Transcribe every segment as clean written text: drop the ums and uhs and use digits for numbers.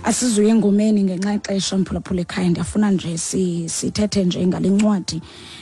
Asizuye engomeni ngenxa yexesha, mphulaphula ekhaya. Ndiyafuna nje sithethe nje ngale ncwadi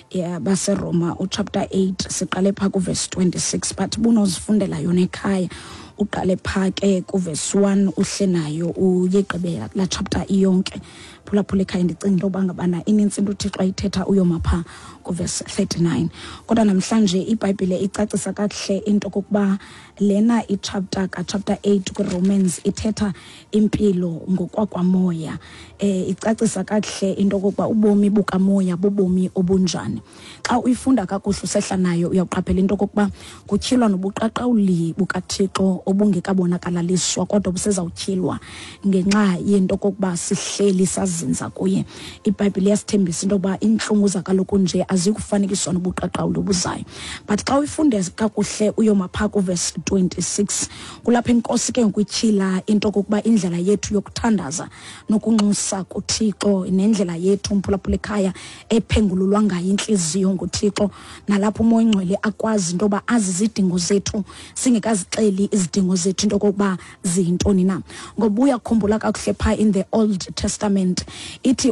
yabaseRoma, uchapter 8, siqale phaa kuvesi 26, but bunozifundela yona ekhaya, uqale phaa ke kuvesi 1, uhle nayo uyigqibe laa chapter iyonke. Phulaphula ekhaya, ndicinga into yoba ngabana inintsi into uThixo ayithetha uyoma phaa kuvesi 39. Kodwa namhlanje iBhayibhile icacisa kakuhle into kokuba lena ichapter kachapter 8 kwiRomans ithetha impilo ngokwakwamoya. Icacisa kakuhle into kokuba ubomi bukamoya bubomi obunjani. Xa uyifunda kakuhle usehla nayo, uyawuqaphela into kokuba kutyhilwa nobuqaqawuli bukaThixo obungekabonakalaliswa, kodwa busezawutyhilwa ngenxa yento kokuba sihleli sazinza kuye. IBhayibhile iyasithembisa into yokuba iintlungu zakaloku nje azikufanekiswa nobuqaqawuli obuzayo. But xa uyifunde kakuhle uyoma phaa kuvesi 26, kulapho inkosi ke ngoku ityhila into kokuba indlela yethu yokuthandaza nokunxusa kuThixo, nendlela yethu, mphulaphula ekhaya, ephengululwa ngayo intliziyo nguThixo, nalapho uMoya Oyingcwele akwazi into yoba azi izidingo zethu singekazixeli izidingo zethu into okokuba ziyintoni na. Ngoba uyakhumbula kakuhle phaa in the Old Testament ithi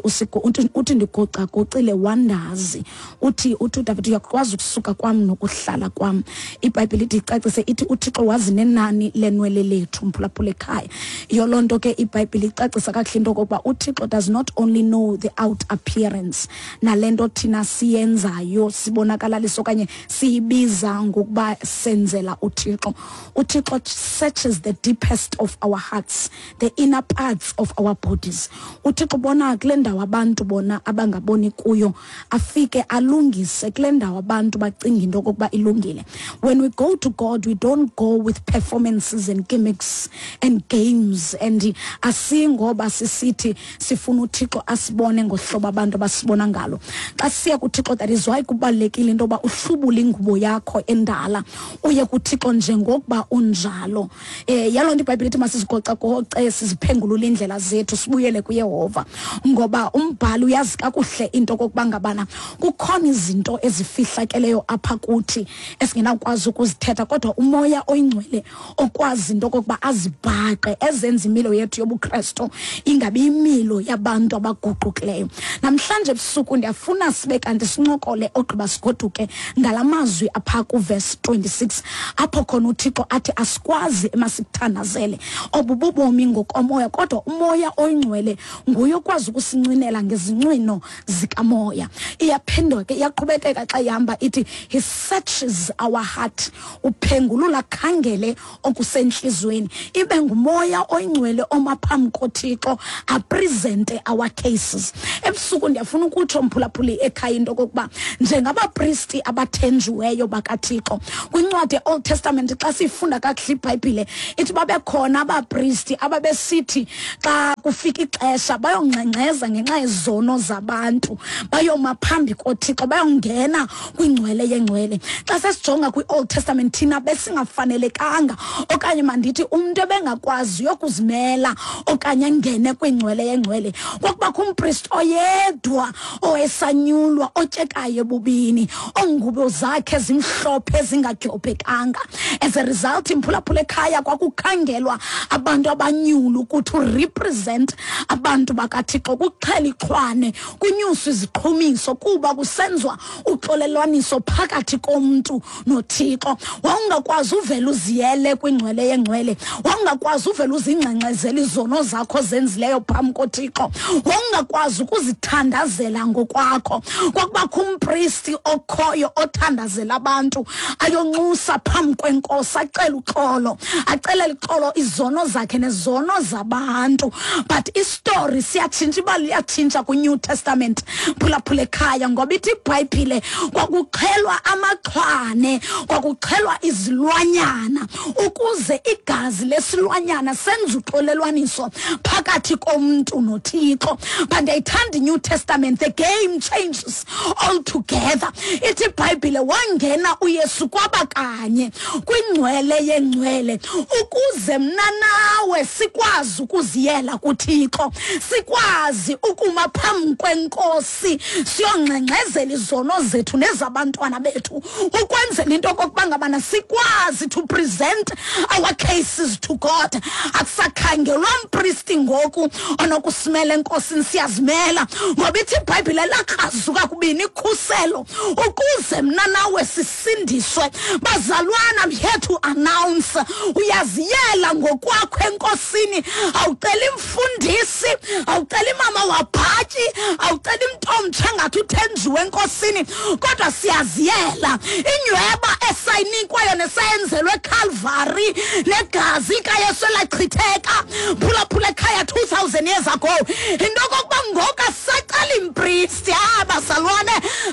uthi ndigocagocile wandazi. Uthi uDavid, uyakwazi ukusuka kwam nokuhlala kwam. IBhayibhile ithi icacise, ithi uThixo wazi nenani lenwele lethu, mphulaphula ekhaya. Yiyo loo nto ke iBhayibhile icacisa kakuhle into okokuba uThixo does not only know the out appearance, nale nto thina siyenzayo sibonakalalisa okanye siyibiza ngokuba senzela uThixo. UThixo searches the deepest of our hearts, the inner parts of our bodies. UThixo ubona kule ndawo abantu bona abangaboni kuyo, afike alungise kule ndawo abantu bacinga into okokuba ilungile. When we go to God, we don't go with performances and gimmicks and games, and asingoba sisithi sifuna uThixo asibone ngohlobo abantu abasibona ngalo xa siya kuThixo. That is why kubalulekile into yoba uhlubule ingubo yakho endala, uye kuThixo njengokuba unjalo. Yaloo nto iBhayibhile ithi masizigocagoce, siziphengulule iindlela zethu, sibuyele kuYehova, ngoba umbhali uyazi kakuhle into okokuba ngabana kukhona izinto ezifihlakeleyo apha kuthi esingenawukwazi ukuzithetha, kodwa uMoya Oyingcwele okwazi into okokuba azibhaqe, ezenza imilo yethu yobuKrestu ingabi imilo yabantu abaguqukileyo. Namhlanje ebusuku ndiyafuna sibe kanti sincokole ogqiba sigoduke ngala mazwi apha kuvesi 26, apho khona uThixo athi asikwazi emasikuthandazele. Obu bubomi ngokomoya, kodwa uMoya Oyingcwele nguye okwazi ukusincwinela ngezincwino zikamoya. Iyaphendwa ke, iyaqhubekeka xa ihamba ithi he searches our heart, uphengulula khangele okusentliziyweni. Ibe nguMoya Oyingcwele oma phambi koThixo apresente our cases. Ebusuku ndiyafuna ukutsho, mphulaphuli ekhaya, into okokuba njengabapristi abathenjiweyo bakaThixo, kwincwadi ye-Old Testament xa siyifunda kakuhle iBhayibhile ithi babekhona abapristi ababesithi xa kufika ixesha bayongxengxeza ngenxa yezono zabantu, bayoma phambi koThixo, bayongena kwingcwele yengcwele. Xa sesijonga kwi-Old Testament, thina besingafanelekanga, okanye mandithi umntu ebengakwazi uyokuzimela okanye angene kwingcwele yengcwele. Kwakubakho umpristi oyedwa owayesanyulwa, otyekayo ebubini, ongubo zakhe zimhlophe zingadyobhekanga. As a result, imphulaphula ekhaya, kwakukhangelwa abantu abanyulu ukuthi urepresent abantu bakaThixo, kuxhela ixhwane, kunyuswe iziqhumiso, kuba kusenzwa uxolelwaniso phakathi komntu noThixo. Wawungakwazi uvela uziyele kwingcwele yengcwele, wawungakwazi uvela uzingxengxezela izono zakho zenzileyo phambi koThixo, wawungakwazi ukuzithandazela ngokwakho. Kwakubakho umpristi okhoyo othandazela abantu, ayonxusa phambi kwenkosi, acele uxolo, acelele uxolo izono zakhe nezono zabantu. But istory siyatshintsha, ibali liyatshintsha kwi-New Testament, phulaphula ekhaya, ngoba ithi iBhayibhile kwakuxhelwa amaxhwane, kwakuxhelwa izilwanyana ukuze igazi lesilwanyana senze uxolelwaniso phakathi komntu noThixo. But ndiyayithanda iNew Testament, the game changes altogether. Ithi iBhayibhile wangena uYesu kwaba kanye kwingcwele yengcwele. oyingcwele ukuze mna nawe sikwazi ukuziyela kuThixo, sikwazi ukuma phambi kwenkosi siyongxengxezela izono zethu nezabantwana bethu, ukwenzela into okokuba ngabana sikwazi to present our cases to God. Akusakhangelwa mpristi ngoku onokusimela enkosini, siyazimela, ngoba ithi iBhayibhile lakrazuka kubini ikhuselo ukuze mna nawe sisindiswe. Bazalwana, I'm here to announce, uyaziyela ngokwakho enkosini. Awuceli mfundisi, awuceli mama wabhatyi, awuceli mntu omtsha ngathi uthenjiwe enkosini, kodwa siyaziyela. Inyweba esayinikwayo nesayenzelwe eCalvary negazi likaYesu elachitheka, phulaphula ekhaya, 2000 years ago, into okokuba ngoku asacela impristi. Bazalwane,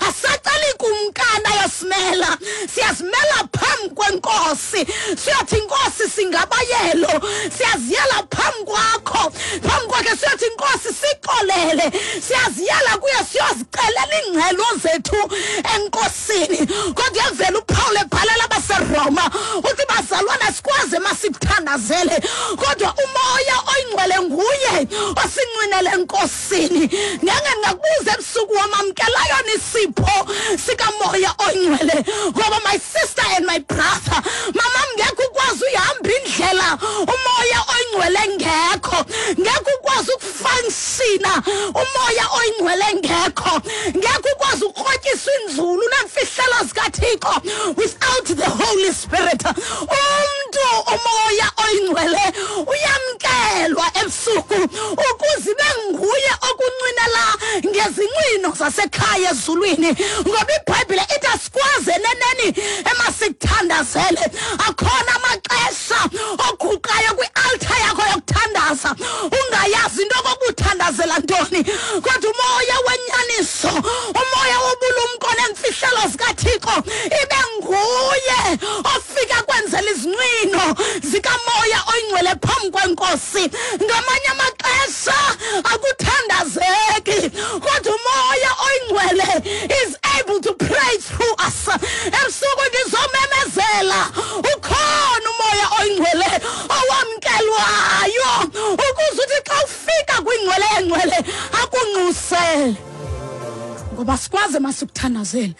asacela ikumkani ayosimela, siyazimela phambi kwenkosi. Siyothi, Inkosi, singabayelo, siyaziyela phambi kwakho, phambi kwakhe. Siyothi, Inkosi, sixolele. Siyaziyela kuye siyozicelela iingcelo zethu enkosini. Kodwa uyavela uPaul ebhalela abaseRoma, uthi, bazalwana, sikwazi emasithandazele, kodwa uMoya Oyingcwele nguye osincwinele enkosini. Ngeke ndingakubuza ebusuku, wamamkelayo nisipho sikaMoya Oyingcwele? Ngoba my sister and my brother, mama, ngekho ukwazi uyihamba indlela uMoya Oyingcwele ngekho, ngekho ukwazi ukufunctiona uMoya Oyingcwele ngekho, ngekho ukwazi ukrotyiswa inzulu neemfihlelo zikaThixo without the Holy Spirit. Umntu uMoya Oyingcwele uyamkelwa ebusuku ukuze ibe nguye okuncwinela ngezincwino zasekhaya ezulwini, ngoba iBhayibhile ithi asikwazi eneneni emasikuthandazele. Akhona amaxesha oguqayo kwi-altar yakho yokuthandaza ungayazi into okokuba uthandazela ntoni, kodwa uMoya wenyaniso, uMoya wobulumko neemfihlelo zikaThixo ibe nguye ofika kwenzela izincwino zikaMoya Oyingcwele phambi kwenkosi. Ngamanye amaxesha akuthandazeki, kodwa uMoya Oyingcwele is able to pray through us. Ebusuku ndizomemezela, ukhona uMoya Oyingcwele owamkelwayo ukuze uthi xa ufika kwingcwele yengcwele akunxusele, ngoba sikwazi masikuthandazele,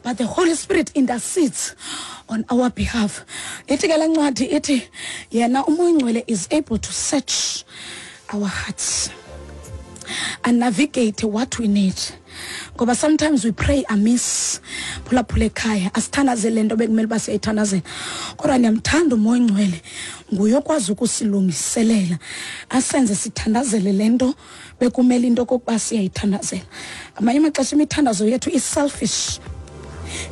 but the Holy Spirit intercedes on our behalf. Ithi ke le ncwadi, ithi yena uMoya Oyingcwele is able to search our hearts and navigate what we need, ngoba sometimes we pray amiss. Phulaphula ekhaya, asithandazele le nto bekumele uba siyayithandazela, kodwa ndiyamthanda uMoya Oyingcwele, nguye okwazi ukusilungiselela asenze sithandazele le nto bekumele into okokuba siyayithandazela. Ngamanye amaxesha imithandazo yethu i-selfish,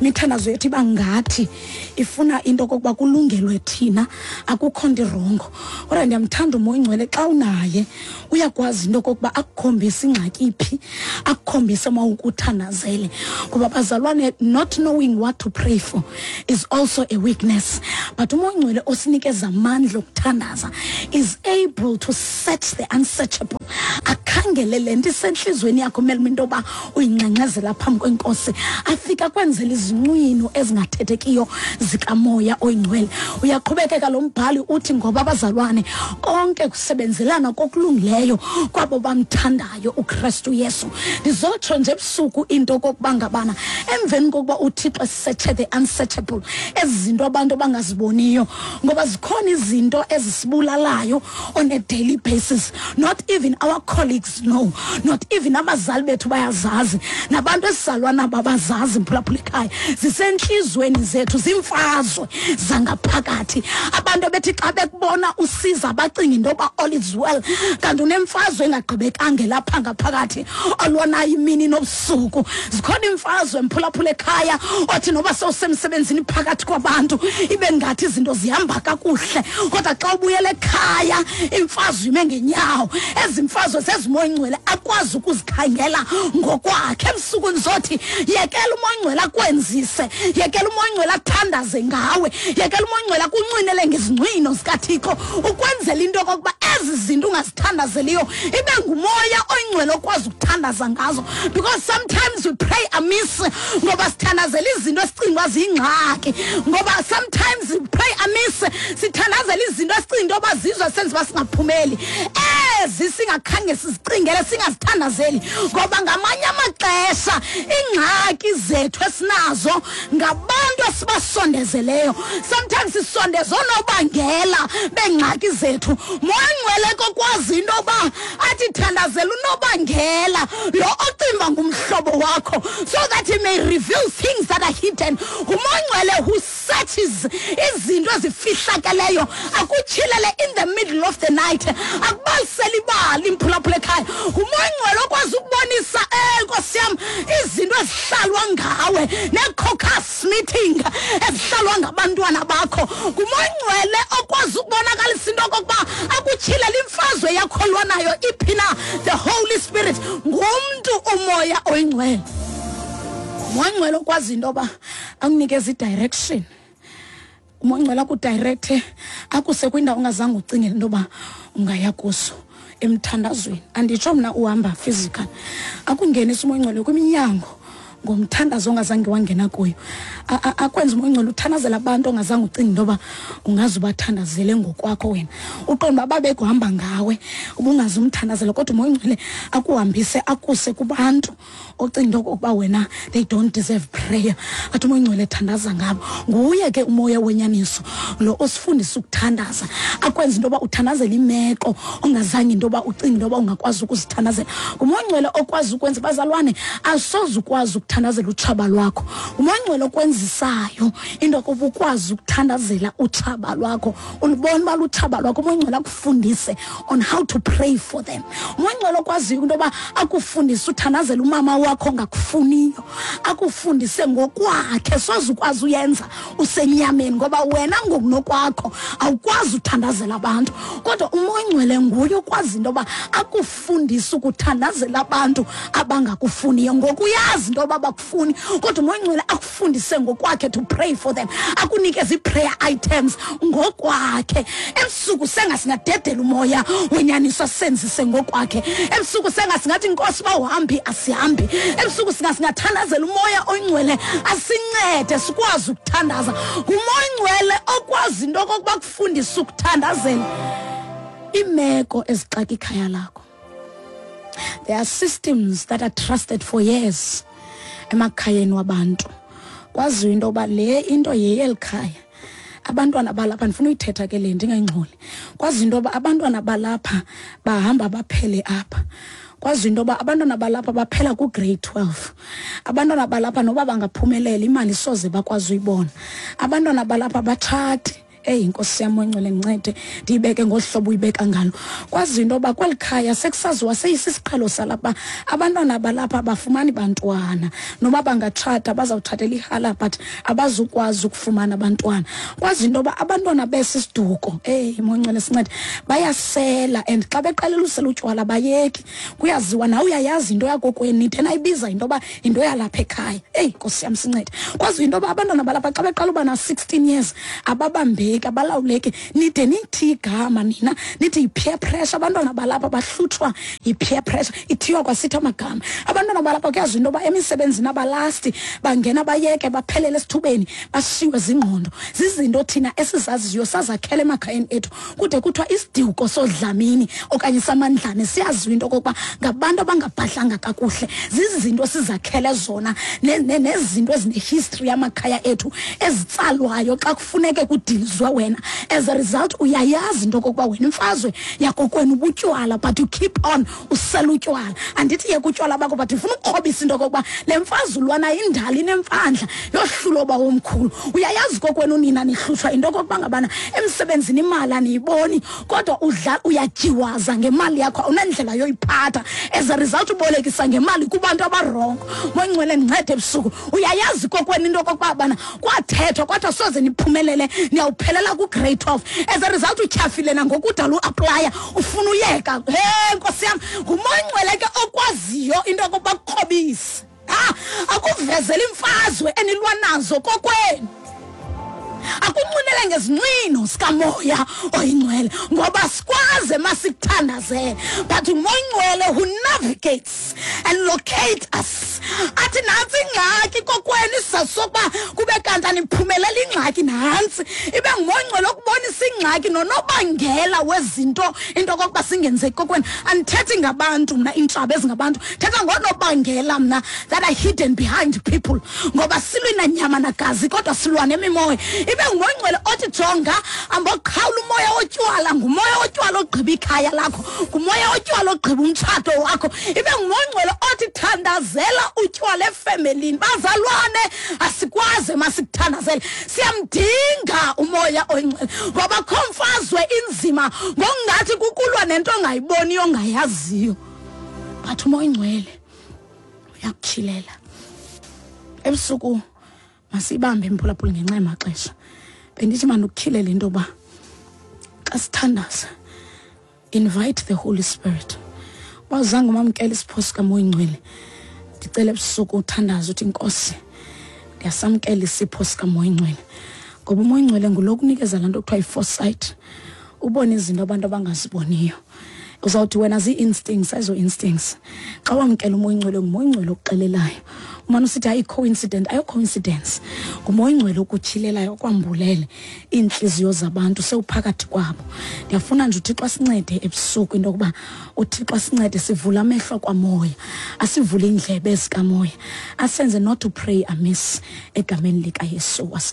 imithandazo yethu iba ngathi ifuna into okokuba kulungelwe thina, akukho nto iwrong. Kodwa ndiyamthanda uMoya Oyingcwele, xa unaye uyakwazi into okokuba akukhombise ingxaki iphi, akukhombise mawukuthandazele, ngoba bazalwane, not knowing what to pray for is also a weakness, but uMoya Oyingcwele osinikeza amandla okuthandaza is able to search the unsearchable, akhangele le nto isentliziyweni yakho kumele into yoba uyingxengxezela phambi kwenkosi, afika kwenzela izincwino ezingathethekiyo zikaMoya Oyingcwele. Uyaqhubekeka lo mbhali, uthi, ngoba abazalwane, konke kusebenzelana kokulungileyo kwabo bamthandayo uKristu Yesu. Ndizotsho nje ebusuku into okokuba ngabana emveni kokuba uThixo esearche the unsearchable, ezi zinto abantu abangaziboniyo, ngoba zikhona izinto ezisibulalayo on a daily basis, not even our colleagues know, not even abazali bethu bayazazi, nabantu esizalwa nabo abazazi. Mphulaphula ekhaya, zisentliziyweni zethu, ziimfazwe zangaphakathi. Abantu bethi xa bekubona usiza bacinga into yoba all is well, kanti unemfazwe engagqibekanga lapha ngaphakathi olwanayo imini nobusuku. Zikhona iimfazwe, mphulaphula ekhaya, othi noba sewusemsebenzini phakathi kwabantu ibe ngathi izinto zihamba kakuhle, kodwa xa ubuyela ekhaya imfazwe ime ngenyawo. Ezi mfazwe zezi umoya oyingcwele akwazi ukuzikhangela ngokwakhe. Ebusuku ndizothi yekela umoya oyingcwele akwenzise, yekela umoya oyingcwele athandaze ngawe, yekela umoya oyingcwele akuncwinele ngezincwino zikaThixo, ukwenzela into yokokuba ezi zinto ungazithandazeliyo ibe ngumoya oyingcwele okwazi ukuthandaza ngazo. Because sometimes we pray amiss ngoba sithandazela izinto esicinga uba ziyingxaki, ngoba sometimes we pray amiss sithandazela izinto esicinga into yoba zizo esenza uba singaphumeli, ezi singakhange sizicingele, singazithandazeli, ngoba ngamanye amaxesha iingxaki zethu esinazo ngabantu esibasondezeleyo. Sometimes sisondeza oonobangela beengxaki zethu. Moya Ngcwele kokwazi into yoba athi thandazela unobangela lo ocimba ngumhlobo wakho, so that he may reveal things that are hidden. Ngumoya Ngcwele who searches izinto ezifihlakeleyo, akutyhilele in the middle of the night, akubalisele ibali mphulaphula ekhaya. Ngumoya Ngcwele okwazi ukubonisa, Nkosi yam, izinto ezihlalwa ngawe nee-caucus meeting ezihlalwa ngabantwana bakho. Ngumoya Ngcwele okwazi ukubonakalisa into okokuba akutyhilele imfazwe yakholwa nayo iphi na. The Holy Spirit ngumntu, umoya oyingcwele. Umoya Ngcwele okwazi into yoba akunikeza i-direction. Umoya Ngcwele akudirecte akuse kwindawo ongazange ucingele into yoba ungaya kuso emthandazweni. Anditsho mna uhamba physical, akungenisa umoya Ngcwele kwiminyango ngomthandazo ongazange wangena kuyo. Akwenza umoya Ngcwele uthandazela abantu ongazange ucinge into yoba ungaze ubathandazele ngokwakho wena, uqonda uba babekuhamba ngawe ubungaze umthandazela, kodwa umoya Ngcwele akuhambise akuse kubantu ocinga into okokuba wena they don't deserve prayer. Athi umoya Ngcwele thandaza ngabo. Nguye ke umoya wenyaniso lo osifundisa ukuthandaza, akwenza into yoba uthandazele imeko ongazange into yoba ucinge into yoba ungakwazi ukuzithandazela. Ngumoya Ngcwele okwazi ukwenza, bazalwane, asoze ukwazi ukuthandazela utshaba lwakho. Ngumoya Ngcwele okwenzisayo into yokuba ukwazi ukuthandazela utshaba lwakho, ulubona uba lutshaba lwakho. Umoya Ngcwele akufundise on how to pray for them. Umoya Ngcwele okwaziyo into yoba akufundise uthandazela umama wakho ongakufuniyo, akufundise ngokwakhe. Soze ukwazi uyenza usenyameni, ngoba wena ngokunokwakho awukwazi uthandazela abantu, kodwa umoya Ngcwele nguye okwazi into yoba akufundise ukuthandazela abantu abangakufuniyo. Ngoku uyazi into yoba bakufuni, kodwa umoya Ngcwele akufundise ngokwakhe to pray for them, akunikeze ii-prayer items ngokwakhe. Ebusuku sengasingadedela umoya wenyaniso asenzise ngokwakhe. Ebusuku sengasingathi Nkosi bawuhambi asihambi. Ebusuku singasingathandazela umoya oyingcwele asincede sikwazi ukuthandaza. Ngumoya oyingcwele okwazi into okokuba kufundisa ukuthandazela iimeko ezixaka ikhaya lakho. There are systems that are trusted for years emakhayeni wabantu. Kwaziwa into yoba le into yeyeli khaya. Abantwana balapha, ndifuna uyithetha ke le ndingayingxoli. Kwaziwa into yoba abantwana balapha bahamba baphele apha. Kwaziwa into yoba abantwana balapha baphela ku-grade 12. Abantwana balapha noba bangaphumelela imali soze bakwazi uyibona. Abantwana balapha batshati. Eyi, Nkosi yam oyingcwele, ndincede ndiyibeke ngolu hlobo uyibeka ngalo. Kwaziwa into yoba kweli khaya sekusaziwa, seyisisiqhelo salapha, abantwana balapha abafumani bantwana, noba bangatshata bazawutshatela ihala but abazukwazi ukufumana abantwana. Kwaziwa into yoba abantwana besi siduko, eyi moyingcwele sincede, bayasela and xa beqalela usela utywala bayeki. Kuyaziwa, nawe uyayazi into yakokwenu, into enayibiza into yoba yinto yalapha ekhaya. Eyi Nkosi yam sincede. Kwaziwa into yoba abantwana balapha xa beqala uba na-16 years ababambeki, abalawuleki. Nide nithi igama nina nithi yi-peer pressure. Abantwana balapha bahlutshwa yi-peer pressure, ithiywa kwasithi amagama. Abantwana balapha kuyaziwa into yoba emisebenzini abalasti, bangena bayeke baphelele esithubeni, bashiywe zingqondo. Zizinto thina esizaziyo sazakhela emakhayeni ethu. Kude kuthiwa isiduko sodlamini okanye samandlane siyaziwa into okokuba ngabantu abangabhadlanga kakuhle. Zizinto sizakhele zona nezinto ezinehistory yamakhaya ethu ezitsalwayo xa kufuneke kudilizwe wena. As a result uyayazi into okokuba wena imfazwe yakokwenu ubutywala, but you keep on usela utywala. Andithi yeka utywala bakho, but ufuna ukukrobisa into okokuba le mfazwe ulwana indala inemfandla yohlulo uba womkhulu. Uyayazi kokwenu nina nihlutshwa into okokuba ngabana emsebenzini imali aniyiboni, kodwa uyatyiwaza ngemali yakho, awunandlela yoyiphatha. As a result ubolekisa ngemali kubantu abarongo. Moyingcwele ndincede ebusuku. Uyayazi kokwenu into okokuba bana kwathethwa kwathiwa soze niphumelele, niyawuphelela. Waphelela ku-grade 12. As a result utyhafile nangoku udala uaplaya, ufuna uyeka. He, nkosi yam, ngumoya oyingcwele ke okwaziyo into yokokuba kukrobise, ha, akuvezela imfazwe enilwa nazo kokwenu, akunxinele ngezincwino sikamoya oyingcwele, ngoba sikwazi masikuthandazele, but umoya oyingcwele who navigates and locate us, athi nantsi ingxaki kokwenu, isizathu sokuba kube kanti aniphumelela ingxaki nantsi. Ibe ngumoya oyingcwele okubonisa ingxaki nonobangela wezinto into okokuba singenzeki kokwenu. Andithethi ngabantu mna, iintshaba ezingabantu, thetha ngonobangela mna that are hidden behind people, ngoba silwi nanyama nagazi, kodwa silwa nemimoya. Ibe ngumoya oyingcwele othi jonga, amboqhawula umoya wotywala, ngumoya wotywala ogqiba ikhaya lakho, ngumoya wotywala ogqiba umtshato wakho. Ibe ngumoya oyingcwele othi thandazela utywala efemelini. Bazalwane, asikwazi masikuthandazele, siyamdinga umoya oyingcwele, ngoba kho mfazwe inzima ngokungathi kukulwa nento ongayiboniyo, ongayaziyo, but umoya oyingcwele uyakutyhilela. Ebusuku masibambe, mphulaphula, ngenxa yamaxesha. Bendithi mandikutyhilele into yoba xa sithandaza, invite the Holy Spirit. Uba zange umamkela isipho sikamoya oyingcwele, ndicela ebusuku uthandaze uthi, "Nkosi, ndiyasamkela isipho sikamoya oyingcwele," ngoba umoya oyingcwele ngulo kunikeza laa nto kuthiwa yi-foresight, ubone izinto abantu abangaziboniyo. Uzawuthi wena zii-instincts, ayizo-instincts. Xa wamkela umoya oyingcwele, ngumoya oyingcwele okuxelelayo. Umane usithi hayi, coincident, ayo coincidence. Ngumoya oyingcwele okutyhilelayo, okwambulele iintliziyo zabantu sewuphakathi kwabo. Ndiyafuna nje uThixo asincede ebusuku, into yokuba uThixo asincede sivule amehlo kwamoya, asivule iindlebe zikamoya, asenze not to pray amiss, egameni likaYesu wase